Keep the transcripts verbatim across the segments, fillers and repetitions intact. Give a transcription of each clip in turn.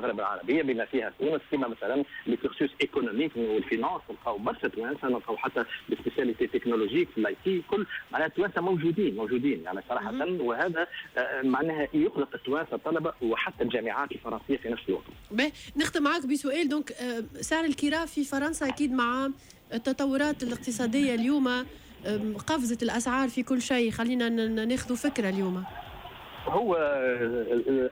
المغرب العربية بما فيها تونس، كما مثلا les cursus économiques وال finance نلقاو برشا توانسه، نلقاو حتى les spécialités technologiques في ال IT، كل معناها التوانسة موجودين موجودين يعني صراحه، وهذا آه، معناها يقلق التوانسة الطلبة وحتى الجامعات الفرنسية في نفس الوقت. باهي، نختم معك بسؤال، donc آه، سعر الكراء في فرنسا اكيد مع التطورات الاقتصادية اليوم قفزت الاسعار في كل شيء، خلينا ناخذ فكرة اليوم. هو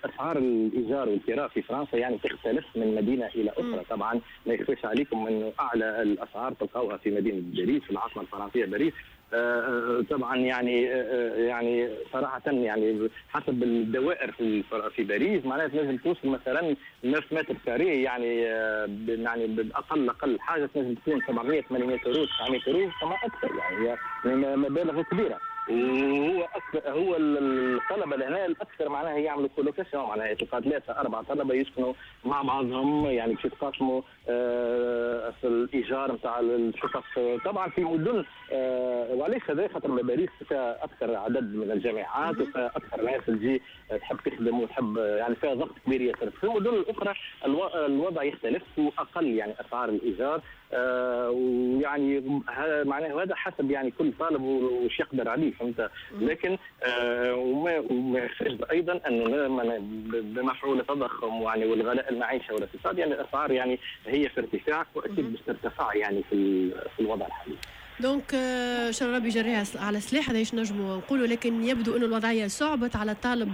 اسعار الايجار والكراء في فرنسا يعني تختلف من مدينة الى اخرى. طبعا ما يخفيش عليكم انه اعلى الاسعار تلقاوها في مدينة باريس، في العاصمة الفرنسية باريس. آه، طبعا يعني آه، يعني صراحة يعني حسب الدوائر في في باريس معناها تنجم توصل مثلا neuf mètres carrés، يعني آه، يعني باقل اقل حاجة تنجم تكون سبعمية ثمانمية اورو، تسعمية اورو فما اكثر، يعني يعني مبالغ كبيره. وهو أكثر هو الطلبة لهنا الاكثر معناها يعملوا colocation، معناها تلقى ثلاثة اربعة طلبه يسكنوا مع بعضهم، يعني باش يتقاسموا آه، في الايجار نتاع الشقق. طبعا في مدن آه، وعلاش هذا؟ خاطر باريس فيها اكثر عدد من الجامعات وفيها اكثر ناس تجي تحب تخدم وتحب، يعني فيها ضغط كبير ياسر. في المدن الاخرى الوضع يختلف واقل يعني اسعار الايجار، آه ويعني معناه هذا حسب يعني كل طالب وش يقدر عليه، فهمت؟ لكن آه وما وما يخفيش ايضا انه بمفعول التضخم يعني والغلاء المعيشة والاقتصاد، يعني الاسعار يعني هي في ارتفاع واكيد باش ترتفع يعني في في الوضع الحالي. donc ان شاء الله ربي يجريها على سلاح، هذا ايش نجموا نقولوا، لكن يبدو انه الوضعية صعبت على الطالب،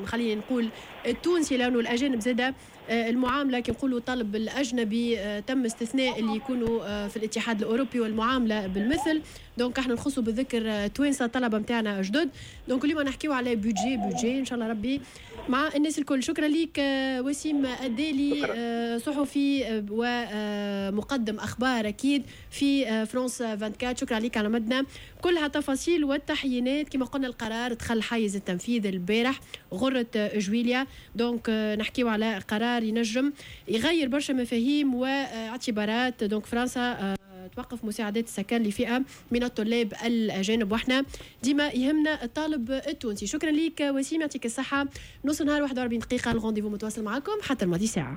خلينا نقول التونسي، لانه الاجانب زاده آه، المعاملة كي نقولوا الطالب الاجنبي آه، تم استثناء اللي يكونوا آه، في الاتحاد الاوروبي والمعاملة بالمثل. donc احنا نخصوا بالذكر توانسة الطلبة نتاعنا جدد. donc اليوم نحكيو على budget budget، ان شاء الله ربي مع الناس الكل. شكرا لك وسيم الدالي، صحفي ومقدم اخبار اكيد في فرانس أربعة وعشرين، شكرا لك على مدنا كلها تفاصيل والتحيينات. كما قلنا القرار دخل حيز التنفيذ البارح غرة جويليا، donc نحكيو على قرار ينجم يغير برشا مفاهيم واعتبارات. donc فرنسا توقف مساعدات السكن لفئة من الطلاب الاجانب، واحنا ديما يهمنا الطالب التونسي. شكرا لك وسيم، يعطيك الصحه. نص نهار واحد وأربعين دقيقه، ال rendez-vous متواصل معكم حتى الماضي ساعه.